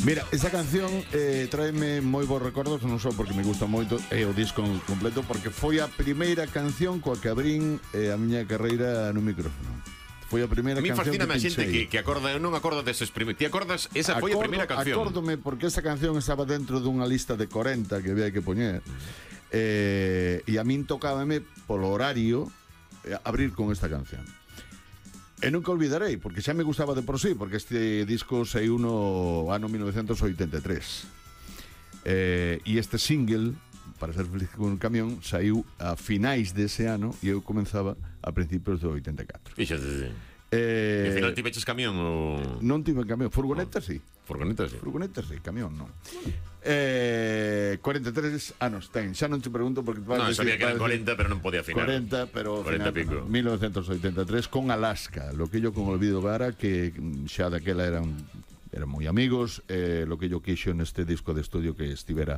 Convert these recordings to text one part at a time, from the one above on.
Mira, esa canción tráeme moi bons recordos, non só porque me gusta moito o disco completo, porque foi a primeira canción coa que abrín a miña carreira no micrófono. Foi a primeira canción que fascina a xente pinchei. que acorda, eu non acordo deses primeiros. Ti acordas? Esa foi a primeira canción. Acórdome porque esa canción estaba dentro dunha lista de 40 que había que poñer. E a min tocábame polo horario abrir con esta canción. E nunca olvidarei, porque xa me gustaba de por sí, porque este disco saiu no ano 1983. E este single, Para ser feliz con un camión, saiu a finais dese ano e eu comenzaba a principios do 84. Fíxate. E ao final tiveches camión ou... Non tive camión, furgoneta sí. Furgoneta sí. Furgoneta sí, camión non. 43 anos ten, xa non te pregunto porque... Non, sabía que eran 40, pero non podía afinar. 40, pero 40 pico. 1983 con Alaska, lo que yo con Olvido Gara, que xa daquela eran moi amigos, lo que yo quixo neste disco de estudio que estivera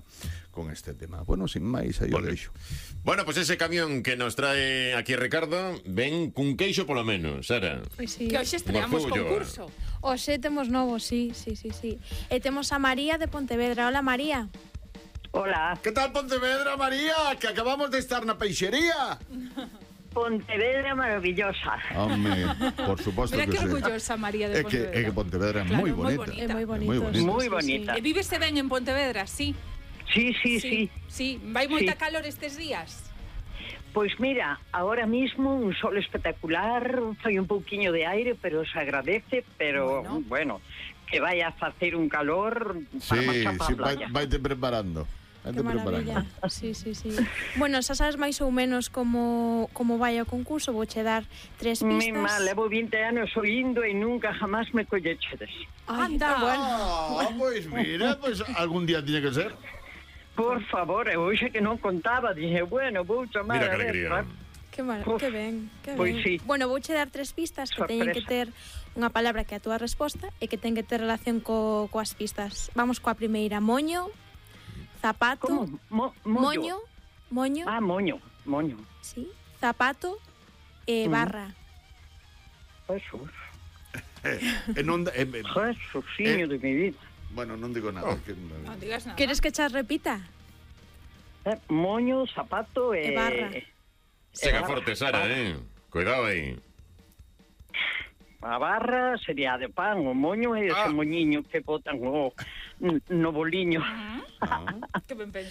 con este tema. Bueno, sin máis, aí o deixo. Bueno, pues ese camión que nos trae aquí Ricardo ven cun queixo polo menos, Sara. Pois sí. Que hoxe estreamos concurso. Hoxe temos novo, sí. E temos a María de Pontevedra. Hola, María. Hola, Que tal Pontevedra, María? Que acabamos de estar na peixería. Pontevedra maravillosa. Home, por suposto Mira que que sí. orgullosa María de Pontevedra. É que Pontevedra é Claro, moi moi bonita. bonita. É moi bonito. Moi bonito. Moi bonita. E vívese ben en Pontevedra, sí. Sí. Sí, vai moita Sí. calor estes días. Pois mira, ahora mismo un sol espectacular, fai un pouquiño de aire, pero se agradece, pero bueno que vai a facer un calor para marchar para a playa. Vaite preparando. Que maravilla. Sí. Bueno, xa sabes máis ou menos como vai o concurso. Vouche dar 3 pistas. Mi mal, levo 20 anos oindo e nunca jamás me collechedes. Anda, bueno. Pois mira, algún día tiña que ser. Por favor, eu hoxe que non contaba, dije, bueno, vou chamar Mira que a ver, alegría. Que ben. Pois sí. Bueno, vouche dar 3 pistas que teñen que ter unha palabra que é a túa resposta e que ten que ter relación coas pistas. Vamos coa primeira. Moño, zapato. Como? Moño. Ah, moño. Sí. Zapato e barra. Jesús. Jesuciño de mi vida. Bueno, non digo nada. Non digas nada. Queres que xa repita? Moño, zapato E barra. Sega forte, Sara, Cuidado aí. A barra sería de pan, o moño é ese moñiño que botan no boliño. Que ben pensado.